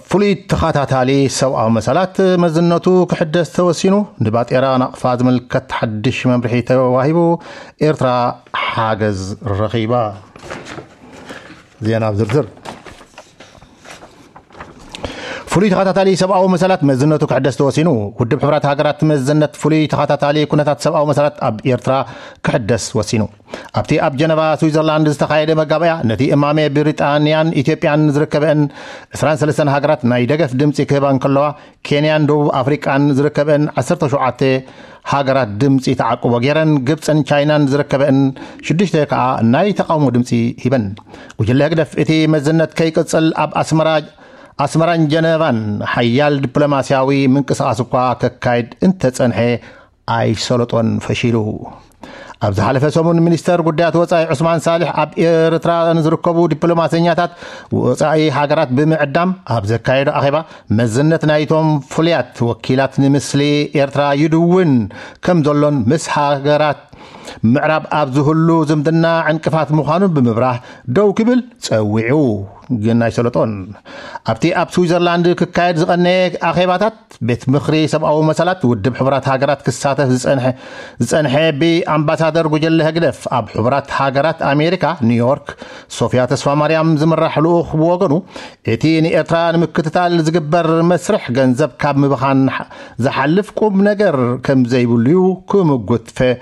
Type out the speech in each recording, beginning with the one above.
ፍሉይ ተኸታታሊ ሰብኣዊ መሰላት መዝነቱ ክሕደስ ተወሲኑ። ንባጤራ ናቕፋ ዝምልከት ሓድሽ መምርሒ ተዋሂቡ። ኤርትራ ሓገዝ ረኺባ። ዜና ብዝርዝር። ፍሉይ ተኸታታሊ ሰብኣዊ መሰላት መዝነቱ ክሕደስ ተወሲኑ። ውድብ ሕቡራት ሃገራት መዝነት ፍሉይ ተኸታታሊ ኩነታት ሰብኣዊ መሰላት ኣብ ኤርትራ ክሕደስ ወሲኑ። ኣብቲ ኣብ ጀነቫ ስዊዘርላንድ ዝተኻየደ መጋበያ፣ ነቲ እማሜ ብሪጣንያን ኢትዮጵያን ዝርከበን ዕስራን ሰለስተን ሃገራት ናይ ደገፍ ድምፂ ክህባ እንከለዋ፣ ኬንያን ደቡብ ኣፍሪቃን ዝርከበን ዓሰርተ ሸውዓተ ሃገራት ድምፂ ተዓቅቦ ገይረን፣ ግብፅን ቻይናን ዝርከበን ሽዱሽተ ከዓ ናይ ተቃውሞ ድምፂ ሂበን። ጉጅለ ህግደፍ እቲ መዝነት ከይቅፅል ኣብ ኣስመራ ኣስመራን ጀነቫን ሓያል ዲፕሎማስያዊ ምንቅስቃስ እኳ ከካይድ እንተጸንሐ፣ ኣይሰለጦን፣ ፈሺሉ። ኣብ ዝሓለፈ ሰሙን ሚኒስተር ጉዳያት ወጻኢ ዑስማን ሳልሕ ኣብ ኤርትራ ንዝርከቡ ዲፕሎማሰኛታት ወጻኢ ሃገራት ብምዕዳም ኣብ ዘካየዶ ኣኼባ፣ መዝነት ናይቶም ፍሉያት ወኪላት ንምስሊ ኤርትራ ይድውን ከም ዘሎን ምስ ሃገራት ምዕራብ ኣብ ዝህሉ ዝምድና ዕንቅፋት ምዃኑ ብምብራህ ደው ክብል ጸዊዑ፣ ግን ኣይሰለጦን። ኣብቲ ኣብ ስዊዘርላንድ ክካየድ ዝቐነየ ኣኼባታት ቤት ምኽሪ ሰብኣዊ መሰላት ውድብ ሕቡራት ሃገራት ክሳተፍ ዝጸንሐ፣ ዝጸንሐ ብኣምባሳደር ጉጀለ ህግደፍ ኣብ ሕቡራት ሃገራት ኣሜሪካ ኒውዮርክ ሶፊያ ተስፋ ማርያም ዝምራሕ ልኡኽ ብወገኑ፣ እቲ ንኤርትራ ንምክትታል ዝግበር መስርሕ ገንዘብ ካብ ምብኻን ዝሓልፍ ቁም ነገር ከም ዘይብሉ'ዩ ክምጉት ፈ-፣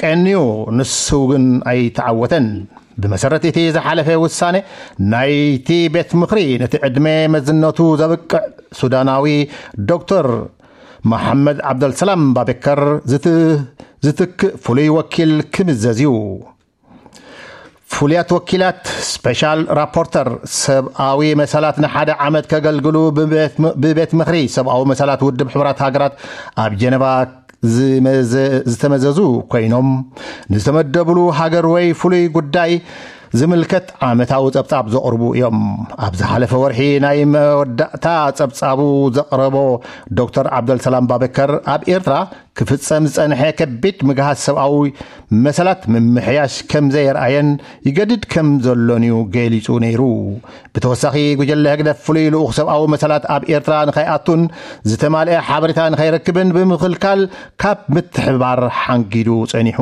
ቀንዩ፣ ንሱ ግን ኣይተዓወተን። ብመሰረት እቲ ዝሓለፈ ውሳነ ናይቲ ቤት ምኽሪ፣ ነቲ ዕድመ መዝነቱ ዘብቅዕ ሱዳናዊ ዶክተር መሓመድ ዓብደልሰላም ባቤከር ዝት-፣ ዝትክእ ፍሉይ ወኪል ክምዘዝ እዩ። ፍሉያት ወኪላት፣ ስፔሻል ራፖርተር፣ ሰብኣዊ መሰላት ንሓደ ዓመት ከገልግሉ ብቤት ም-፣ ብቤት ምኽሪ ሰብኣዊ መሰላት ውድብ ሕቡራት ሃገራት ኣብ ጀነቫ ዝመዘ-፣ ዝተመዘዙ ኮይኖም፣ ንዝተመደብሉ ሃገር ወይ ፍሉይ ጉዳይ ዝምልከት ዓመታዊ ጸብጻብ ዘቕርቡ እዮም። ኣብ ዝሓለፈ ወርሒ ናይ መወዳእታ ጸብጻቡ ዘቕረቦ ዶክተር ዓብደልሰላም ባበከር፣ ኣብ ኤርትራ ክፍጸም ዝጸንሐ ከቢድ ምግሃስ ሰብኣዊ መሰላት ምምሕያሽ ከም ዘየርኣየን ይገድድ ከም ዘሎን እዩ ገሊጹ ነይሩ። ብተወሳኺ፣ ጉጀለ ህግደፍ ፍሉይ ልኡኽ ሰብኣዊ መሰላት ኣብ ኤርትራ ንኸይኣቱን ዝተማልአ ሓበሬታ ንኸይረክብን ብምኽልካል ካብ ምትሕብባር ሓንጊዱ ጸኒሑ።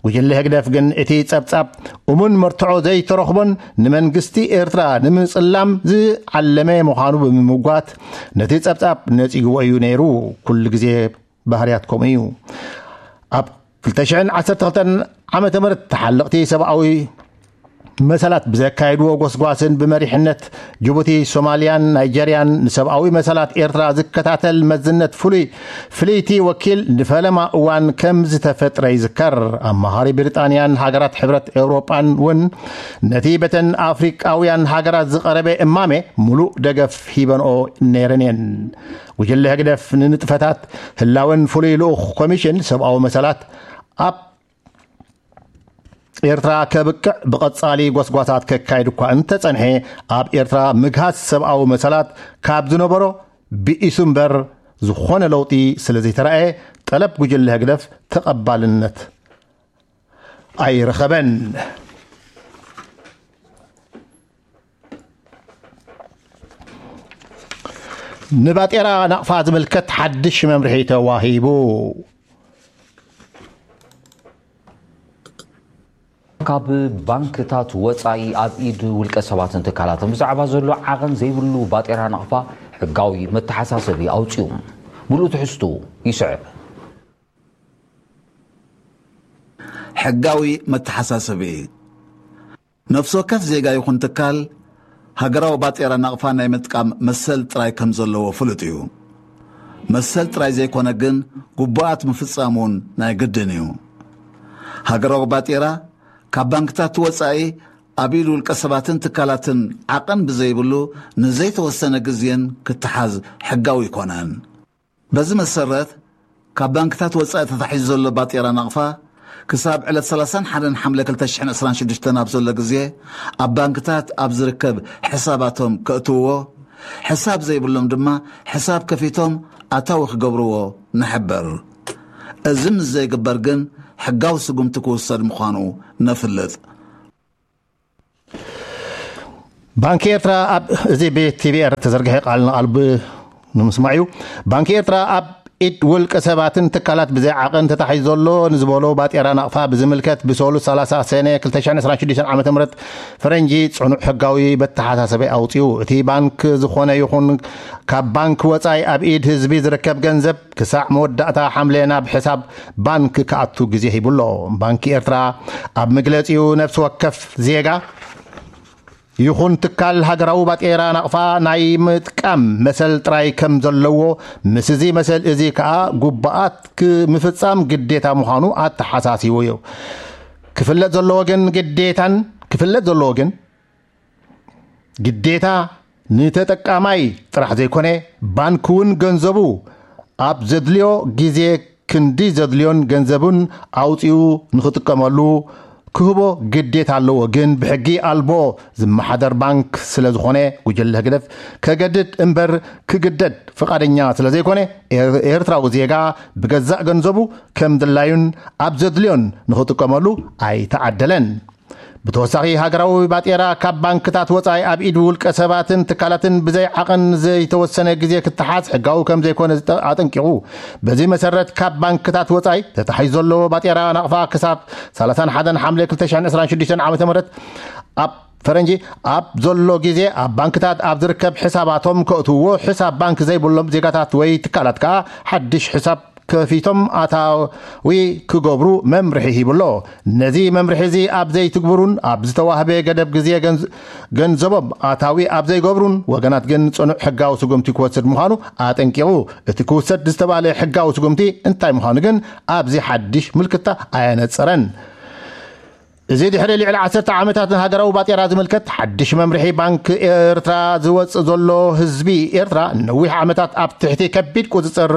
ጉጅለ ህግደፍ ግን እቲ ጸብጻብ እሙን መርትዖ ዘይተረኽቦን ንመንግስቲ ኤርትራ ንምጽላም ዝዓለመ ምዃኑ ብምምጓት፣ ነቲ ጸብጻብ ነጺግዎ እዩ ነይሩ። ኩሉ ግዜ ባህርያት ከምኡ እዩ። ኣብ ክልተ ሽሕን ዓሰርተ ክልተን ዓመተ ምህረት ተሓለቕቲ ሰብኣዊ መሰላት ብዘካየድዎ ጎስጓስን ብመሪሕነት ጅቡቲ፣ ሶማልያን ናይጀርያን ንሰብኣዊ መሰላት ኤርትራ ዝከታተል መዝነት ፍሉይ ፍልይቲ ወኪል ንፈለማ እዋን ከም ዝተፈጥረ ይዝከር። ኣማኻሪ ብሪጣንያን ሃገራት ሕብረት ኤውሮጳን እውን ነቲ በተን ኣፍሪቃውያን ሃገራት ዝቐረበ እማሜ ምሉእ ደገፍ ሂበንኦ ነይረን እየን። ጉጅለ ህግደፍ ንንጥፈታት ህላወን ፍሉይ ልኡኽ ኮሚሽን ሰብኣዊ መሰላት ኣብ ኤርትራ ከብቅዕ ብቐጻሊ ጎስጓሳት ከካይድ እኳ እንተጸንሐ፣ ኣብ ኤርትራ ምግሃስ ሰብኣዊ መሰላት ካብ ዝነበሮ ብኢሱ እምበር ዝኾነ ለውጢ ስለ ዘይተራእየ፣ ጠለብ ጉጅለ ህግደፍ ተቐባልነት ኣይረኸበን። ንባጤራ ናቕፋ ዝምልከት ሓድሽ መምርሒ ተዋሂቡ። ካብ ባንክታት ወጻኢ ኣብ ኢድ ውልቀ ሰባትን ትካላትን ብዛዕባ ዘሎ ዓቐን ዘይብሉ ባጤራ ናቕፋ ሕጋዊ መተሓሳሰቢ ኣውጺኡ። ምሉእ ትሕዝቱ ይስዕብ። ሕጋዊ መተሓሳሰቢ። ነፍሲ ወከፍ ዜጋ ይኹን ትካል ሃገራዊ ባጤራ ናቕፋ ናይ ምጥቃም መሰል ጥራይ ከም ዘለዎ ፍሉጥ እዩ። መሰል ጥራይ ዘይኮነ ግን ግቡኣት ምፍጻም እውን ናይ ግድን እዩ። ሃገራዊ ባጤራ ካብ ባንክታት ወጻኢ ኣብ ኢድ ውልቀ ሰባትን ትካላትን ዓቐን ብዘይብሉ ንዘይተወሰነ ግዜን ክተሓዝ ሕጋዊ ኣይኮነን። በዚ መሰረት፣ ካብ ባንክታት ወጻኢ ተታሒዙ ዘሎ ባጤራ ናቕፋ፣ ክሳብ ዕለት ሰላሳን ሓደን ሓምለ ክልተ ሽሕን ዕስራን ሽዱሽተን ኣብ ዘሎ ግዜ፣ ኣብ ባንክታት ኣብ ዝርከብ ሕሳባቶም ከእትውዎ፣ ሕሳብ ዘይብሎም ድማ ሕሳብ ከፊቶም ኣታዊ ክገብርዎ ንሕብር። እዚ ምስ ዘይግበር ግን፣ ሕጋዊ ስጉምቲ ክውሰድ ምዃኑ ነፍልጥ። ባንኪ ኤርትራ ኣብ፣ እዚ ብቲቪ ኤረ ተዘርግሐ ቃል ንቓል ብ-፣ ንምስማዕ እዩ። ባንኪ ኤርትራ ኣብ ኢድ ውልቀ ሰባትን ትካላት ብዘይ ዓቐን ተታሒዙ ዘሎ ንዝበሎ ባጤራ ናቕፋ ብዝምልከት ብሰሉስ ሰላሳ ሰነ ክልተ ሽሕን ዕስራን ሽዱሽተን ዓመተ ምህረት ፈረንጂ ጽኑዕ ሕጋዊ በተሓሳሰበ ኣውጺኡ። እቲ ባንክ ዝኾነ ይኹን ካብ ባንክ ወጻኢ ኣብ ኢድ ህዝቢ ዝርከብ ገንዘብ ክሳዕ መወዳእታ ሓምለ ናብ ሕሳብ ባንክ ክኣቱ ግዜ ሂቡ ኣሎ። ባንኪ ኤርትራ ኣብ መግለጺኡ ነፍሲ ወከፍ ዜጋ ይኹን ትካል ሃገራዊ ባጤራ ናቕፋ ናይ ምጥቃም መሰል ጥራይ ከም ዘለዎ፣ ምስ እዚ መሰል እዚ ከኣ ጉባኣት ክምፍጻም ግዴታ ምዃኑ ኣተሓሳሲቡ እዩ። ክፍለጥ ዘለዎ ግን ግዴታን፣ ክፍለጥ ዘለዎ ግን ግዴታ ንተጠቃማይ ጥራሕ ዘይኮነ፣ ባንክ እውን ገንዘቡ ኣብ ዘድልዮ ግዜ ክንዲ ዘድልዮን ገንዘቡን ኣውጺኡ ንኽጥቀመሉ ክህቦ ግዴታ ኣለዎ። ግን ብሕጊ ኣልቦ ዝመሓደር ባንክ ስለ ዝኾነ፣ ጉጅለ ህግደፍ ከገድድ እምበር ክግደድ ፍቓደኛ ስለ ዘይኮነ፣ ኤር-፣ ኤርትራዊ ዜጋ ብገዛእ ገንዘቡ ከም ድላዩን ኣብ ዘድልዮን ንኽጥቀመሉ ኣይተዓደለን። ብተወሳኺ፣ ሃገራዊ ባጤራ ካብ ባንክታት ወጻኢ ኣብ ኢድ ውልቀ ሰባትን ትካላትን ብዘይ ዓቐን ዘይተወሰነ ግዜ ክተሓዝ ሕጋዊ ከም ዘይኮነ ዝጠ-፣ ኣጠንቂቑ። በዚ መሰረት፣ ካብ ባንክታት ወጻኢ ተታሒዙ ዘሎ ባጤራ ናቕፋ ክሳብ ሰላሳን ሓደን ሓምለ ክልተ ሽሕን ዕስራን ሽዱሽተን ዓመተ ምህረት ኣብ ፈረንጂ ኣብ ዘሎ ግዜ ኣብ ባንክታት ኣብ ዝርከብ ሕሳባቶም ከእትውዎ፣ ሕሳብ ባንክ ዘይብሎም ዜጋታት ወይ ትካላት ከኣ ሓድሽ ሕሳብ ከፊቶም ኣታዊ ክገብሩ መምርሒ ሂቡ ኣሎ። ነዚ መምርሒ እዚ ኣብ ዘይትግብሩን ኣብ ዝተዋህበ ገደብ ግዜ ገንዝ-፣ ገንዘቦም ኣታዊ ኣብ ዘይገብሩን ወገናት ግን ጽኑዕ ሕጋዊ ስጉምቲ ክወስድ ምዃኑ ኣጠንቂቑ። እቲ ክውሰድ ዝተባህለ ሕጋዊ ስጉምቲ እንታይ ምዃኑ ግን ኣብዚ ሓድሽ ምልክታ ኣየነጸረን። እዚ ድሕሪ ልዕሊ ዓሰርተ ዓመታት ንሃገራዊ ባጤራ ዝምልከት ሓድሽ መምርሒ ባንክ ኤርትራ ዝወጽእ ዘሎ፣ ህዝቢ ኤርትራ ነዊሕ ዓመታት ኣብ ትሕቲ ከቢድ ቁጽጽር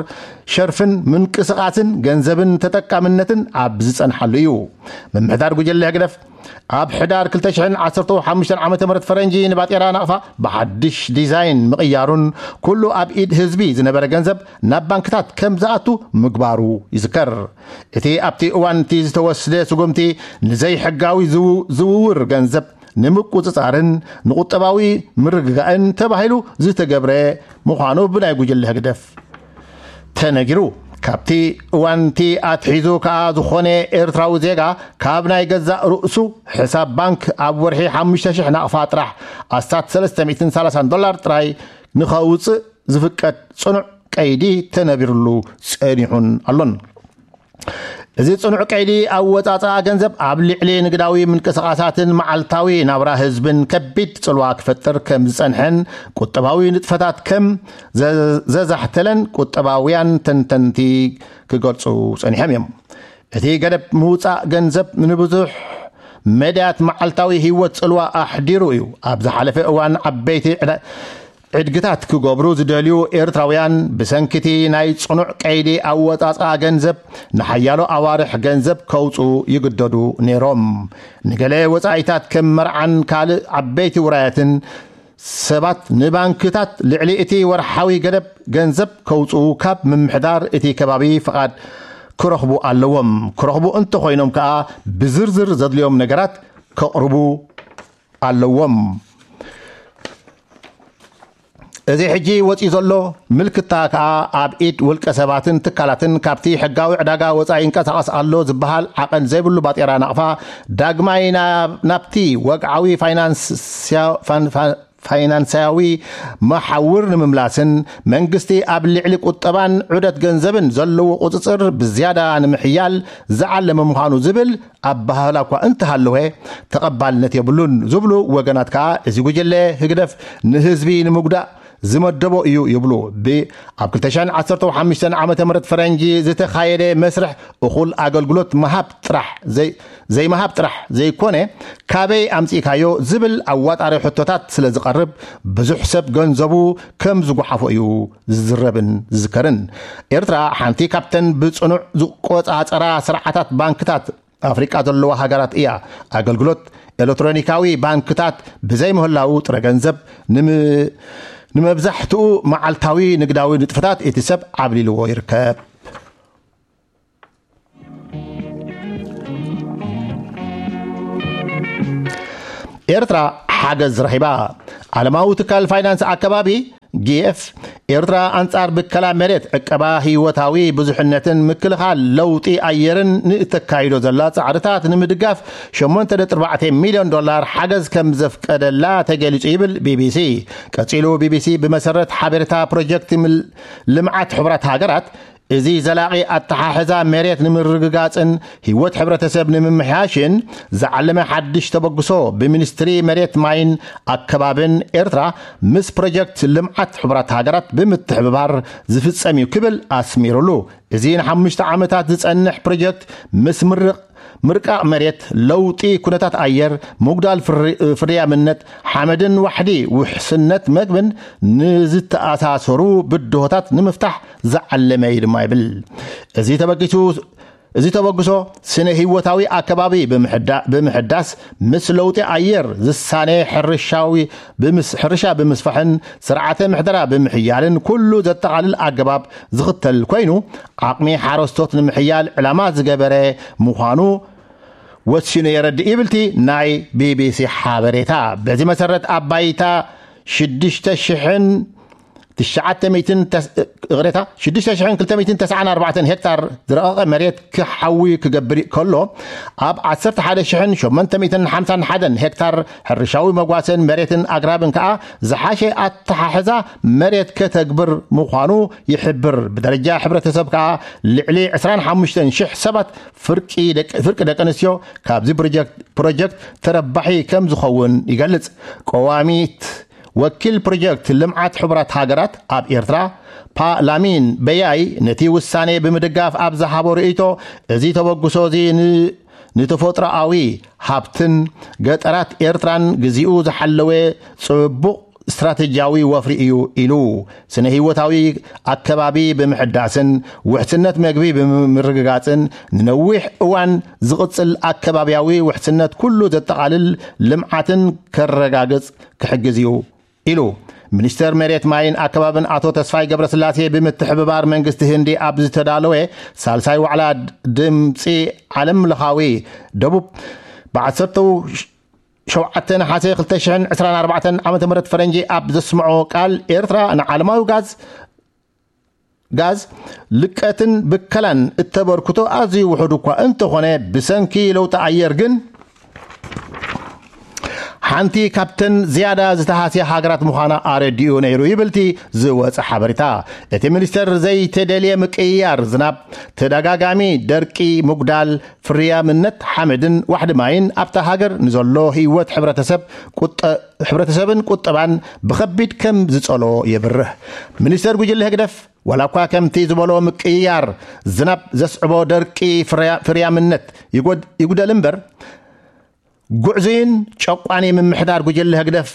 ሸርፍን ምንቅስቓስን ገንዘብን ተጠቃምነትን ኣብ ዝጸንሓሉ እዩ። ምምሕዳር ጉጅለ ህግደፍ ኣብ ሕዳር ክልተ ሽሕን ዓሰርተ ሓሙሽተን ዓመተ ምህረት ፈረንጂ ንባጤራ ናቕፋ ብሓድሽ ዲዛይን ምቕያሩን ኩሉ ኣብ ኢድ ህዝቢ ዝነበረ ገንዘብ ናብ ባንክታት ከም ዝኣቱ ምግባሩ ይዝከር። እቲ ኣብቲ እዋን እቲ ዝተወስደ ስጉምቲ ንዘይሕጋዊ ዝው-፣ ዝውውር ገንዘብ ንምቁጽጻርን ንቁጠባዊ ምርግጋእን ተባሂሉ ዝተገብረ ምዃኑ ብናይ ጉጅለ ህግደፍ ተነጊሩ። ካብቲ እዋን እቲ ኣትሒዙ ከኣ ዝኾነ ኤርትራዊ ዜጋ ካብ ናይ ገዛእ ርእሱ ሕሳብ ባንክ ኣብ ወርሒ ሓሙሽተ ሽሕ ናቕፋ ጥራሕ ኣስታት ሰለስተ ሚእትን ሰላሳን ዶላር ጥራይ ንኸውጽእ ዝፍቀድ ጽኑዕ ቀይዲ ተነቢርሉ ጸኒሑን ኣሎን። እዚ ጽኑዕ ቀይዲ ኣወጻጽኣ ገንዘብ ኣብ ልዕሊ ንግዳዊ ምንቅስቓሳትን መዓልታዊ ናብራ ህዝብን ከቢድ ጽልዋ ክፈጥር ከም ዝጸንሐን ቁጠባዊ ንጥፈታት ከም ዘ-፣ ዘዛሕተለን ቁጠባውያን ተንተንቲ ክገልጹ ጸኒሖም እዮም። እቲ ገደብ ምውጻእ ገንዘብ ንብዙሕ መዳያት መዓልታዊ ህይወት ጽልዋ ኣሕዲሩ እዩ። ኣብ ዝሓለፈ እዋን ዓበይቲ ዕዳ-፣ ዕድግታት ክገብሩ ዝደልዩ ኤርትራውያን ብሰንኪቲ ናይ ጽኑዕ ቀይዲ ኣወጻጽኣ ገንዘብ ንሓያሎ ኣዋርሕ ገንዘብ ከውጽኡ ይግደዱ ነይሮም። ንገለ ወጻኢታት ከም መርዓን ካልእ ዓበይቲ ውራያትን ሰባት ንባንክታት ልዕሊ እቲ ወርሓዊ ገደብ ገንዘብ ከውጽኡ ካብ ምምሕዳር እቲ ከባቢ ፍቓድ ክረኽቡ ኣለዎም። ክረኽቡ እንተኾይኖም ከኣ ብዝርዝር ዘድልዮም ነገራት ከቕርቡ ኣለዎም። እዚ ሕጂ ወጺኡ ዘሎ ምልክታ ከኣ ኣብ ኢድ ውልቀ ሰባትን ትካላትን ካብቲ ሕጋዊ ዕዳጋ ወጻኢ ይንቀሳቐስ ኣሎ ዝበሃል ዓቐን ዘይብሉ ባጤራ ናቕፋ ዳግማይ ናብ፣ ናብቲ ወግዓዊ ፋይናንስያ-፣ ፋን-፣ ፋን-፣ ፋይናንሳዊ መሓውር ንምምላስን መንግስቲ ኣብ ልዕሊ ቁጠባን ዑደት ገንዘብን ዘለዎ ቁጽጽር ብዝያዳ ንምሕያል ዝዓለመ ምዃኑ ዝብል ኣበሃህላ እኳ እንተሃለወ፣ ተቐባልነት የብሉን ዝብሉ ወገናት ከኣ፣ እዚ ጉጅለ ህግደፍ ንህዝቢ ንምጉዳእ ዝመደቦ እዩ ይብሉ። ብ-፣ ኣብ ክልተ ሽሕን ዓሰርተ ሓሙሽተን ዓመተ ምህረት ፈረንጂ ዝተኻየደ መስርሕ እኹል ኣገልግሎት ምሃብ ጥራሕ ዘይ-፣ ዘይምሃብ ጥራሕ ዘይኮነ፣ ካበይ ኣምጺእካዮ ዝብል ኣዋጣሪ ሕቶታት ስለ ዝቐርብ፣ ብዙሕ ሰብ ገንዘቡ ከም ዝጓሓፎ እዩ ዝዝረብን ዝዝከርን። ኤርትራ ሓንቲ ካብተን ብጽኑዕ ዝቆጻጸራ ስርዓታት ባንክታት ኣፍሪቃ ዘለዋ ሃገራት እያ። ኣገልግሎት ኤሌክትሮኒካዊ ባንክታት ብዘይ ምህላዉ ጥረ ገንዘብ ንም-፣ ንመብዛሕትኡ መዓልታዊ ንግዳዊ ንጥፈታት እቲ ሰብ ዓብሊልዎ ይርከብ። ኤርትራ ሓገዝ ረኺባ። ዓለማዊ ትካል ፋይናንስ ኣከባቢ ጊኤፍ፣ ኤርትራ ኣንጻር ብከላ መሬት፣ ዕቀባ ህይወታዊ ብዙሕነትን ምክልኻል ለውጢ ኣየርን ንእተካይዶ ዘላ ጻዕርታት ንምድጋፍ ሸሞንተ ነጥቢ ኣርባዕተ ሚልዮን ዶላር ሓገዝ ከም ዘፍቀደላ ተገሊጹ ይብል ቢቢሲ። ቀጺሉ ቢቢሲ፣ ብመሰረት ሓበሬታ ፕሮጀክት ምል-፣ ልምዓት ሕቡራት ሃገራት፣ እዚ ዘላቒ ኣተሓሕዛ መሬት ንምርግጋጽን ህይወት ሕብረተሰብ ንምምሕያሽን ዝዓለመ ሓድሽ ተበግሶ ብሚኒስትሪ መሬት፣ ማይን ኣከባብን ኤርትራ ምስ ፕሮጀክት ልምዓት ሕቡራት ሃገራት ብምትሕብባር ዝፍጸም እዩ ክብል ኣስሚሩሉ። እዚ ንሓሙሽተ ዓመታት ዝጸንሕ ፕሮጀክት ምስ ምርቕ-፣ ምርቃቕ መሬት፣ ለውጢ ኩነታት ኣየር፣ ምጉዳል ፍሪ-፣ ፍርያምነት ሓመድን ዋሕዲ ውሕስነት መግብን ንዝተኣሳሰሩ ብድሆታት ንምፍታሕ ዝዓለመ እዩ ድማ ይብል። እዚ ተበጊሱ፣ እዚ ተበግሶ ስነ ህይወታዊ ኣከባቢ ብምሕዳ-፣ ብምሕዳስ፣ ምስ ለውጢ ኣየር ዝሳነ ሕርሻዊ ብምስ-፣ ሕርሻ ብምስፋሕን ስርዓተ ምሕደራ ብምሕያልን ኩሉ ዘጠቓልል ኣገባብ ዝኽተል ኮይኑ፣ ዓቕሚ ሓረስቶት ንምሕያል ዕላማ ዝገበረ ምዃኑ ወሲኑ የረድእ ይብል እቲ ናይ ቢቢሲ ሓበሬታ። በዚ መሰረት ኣብ ባይታ ሽዱሽተ ሽሕን ትሽዓተ ሚእትን ተስ-፣ ይቕሬታ፣ ሽዱሽተ ሽሕን ክልተ ሚእትን ተስዓን ኣርባዕተን ሄክታር ዝረቐቐ መሬት ክሓዊ ክገብር ከሎ፣ ኣብ ዓሰርተ ሓደ ሽሕን ሸሞንተ ሚእትን ሓምሳን ሓደን ሄክታር ሕርሻዊ መጓሰን መሬትን ኣግራብን ከኣ ዝሓሸ ኣተሓሕዛ መሬት ከተግብር ምዃኑ ይሕብር። ብደረጃ ሕብረተሰብ ከኣ ልዕሊ ዕስራን ሓሙሽተን ሽሕ ሰባት ፍርቂ ደቂ፣ ፍርቂ ደቂ ኣንስትዮ ካብዚ ፕሮጀክት፣ ፕሮጀክት ተረባሒ ከም ዝኸውን ይገልጽ። ቀዋሚት ወኪል ፕሮጀክት ልምዓት ሕቡራት ሃገራት ኣብ ኤርትራ፣ ፓ ላሚን በያይ፣ ነቲ ውሳኔ ብምድጋፍ ኣብ ዝሃቦ ርእይቶ፣ እዚ ተበግሶ እዚ ን-፣ ንተፈጥሮኣዊ ሃብትን ገጠራት ኤርትራን ግዚኡ ዝሓለወ ጽቡቕ ስትራተጂያዊ ወፍሪ እዩ ኢሉ። ስነ ህይወታዊ ኣከባቢ ብምሕዳስን ውሕስነት መግቢ ብምርግጋጽን ንነዊሕ እዋን ዝቕጽል ኣከባብያዊ ውሕስነት ኩሉ ዘጠቓልል ልምዓትን ከረጋግጽ ክሕግዝ እዩ ኢሉ። ሚኒስተር መሬት፣ ማይን ኣከባብን ኣቶ ተስፋይ ገብረስላሴ ብምትሕብባር መንግስቲ ህንዲ ኣብ ዝተዳለወ ሳልሳይ ዋዕላ ድምፂ ዓለም ለኻዊ ደቡብ ብ ዓሰርተ ሸውዓተ ነሓሰ ክልተ ሽሕን ዕስራን ኣርባዕተን ዓመተ ምህረት ፈረንጂ ኣብ ዘስምዖ ቃል፣ ኤርትራ ንዓለማዊ ጋዝ፣ ጋዝ ልቀትን ብከላን እተበርክቶ ኣዝዩ ውሑድ እኳ እንተኾነ፣ ብሰንኪ ለውጢ ኣየር ግን ሓንቲ ካብተን ዝያዳ ዝተሃስያ ሃገራት ምዃና ኣረዲኡ ነይሩ ይብል እቲ ዝወጸ ሓበሬታ። እቲ ሚኒስተር፣ ዘይተደልየ ምቅይያር ዝናብ፣ ተደጋጋሚ ደርቂ፣ ምጉዳል ፍርያምነት ሓመድን ዋሕዲ ማይን ኣብታ ሃገር ንዘሎ ህይወት ሕብረተሰብ ቁጠ-፣ ሕብረተሰብን ቁጠባን ብኸቢድ ከም ዝጸሎ የብርህ። ሚኒስተር ጉጅለ ህግደፍ፣ ዋላ እኳ ከምቲ ዝበሎ ምቅይያር ዝናብ ዘስዕቦ ደርቂ ፍርያ-፣ ፍርያምነት ይጎድ-፣ ይጉደል እምበር፣ ጉዕዙይን ጨቋኒ ምምሕዳር ጉጅለ ህግደፍ፣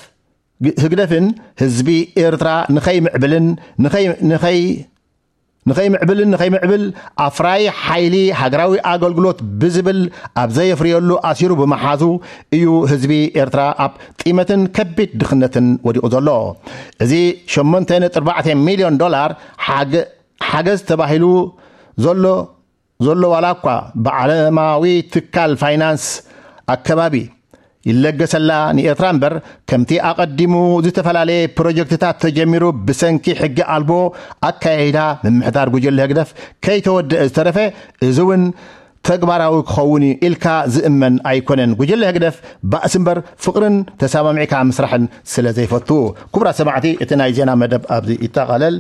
ህግደፍን ህዝቢ ኤርትራ ንኸይምዕብልን ንኸይ-፣ ንኸይ-፣ ንኸይምዕብልን ንኸይምዕብል ኣፍራይ ሓይሊ ሃገራዊ ኣገልግሎት ብዝብል ኣብ ዘየፍርየሉ ኣሲሩ ብምሓዙ እዩ ህዝቢ ኤርትራ ኣብ ጢመትን ከቢድ ድኽነትን ወዲቑ ዘሎ። እዚ ሸሞንተ ነጥቢ ኣርባዕተ ሚልዮን ዶላር ሓገ-፣ ሓገዝ ተባሂሉ ዘሎ፣ ዘሎ ዋላ እኳ ብዓለማዊ ትካል ፋይናንስ ኣከባቢ ይለገሰላ ንኤርትራ እምበር፣ ከምቲ ኣቐዲሙ ዝተፈላለየ ፕሮጀክትታት ተጀሚሩ ብሰንኪ ሕጊ ኣልቦ ኣካያይዳ ምምሕዳር ጉጅለ ህግደፍ ከይተወደአ ዝተረፈ፣ እዚ እውን ተግባራዊ ክኸውን እዩ ኢልካ ዝእመን ኣይኮነን። ጉጅለ ህግደፍ ባእሲ እምበር ፍቕርን ተሰማሚዕካ ምስራሕን ስለ ዘይፈቱ። ክቡራት ሰማዕቲ፣ እቲ ናይ ዜና መደብ ኣብዚ ይጠቓለል።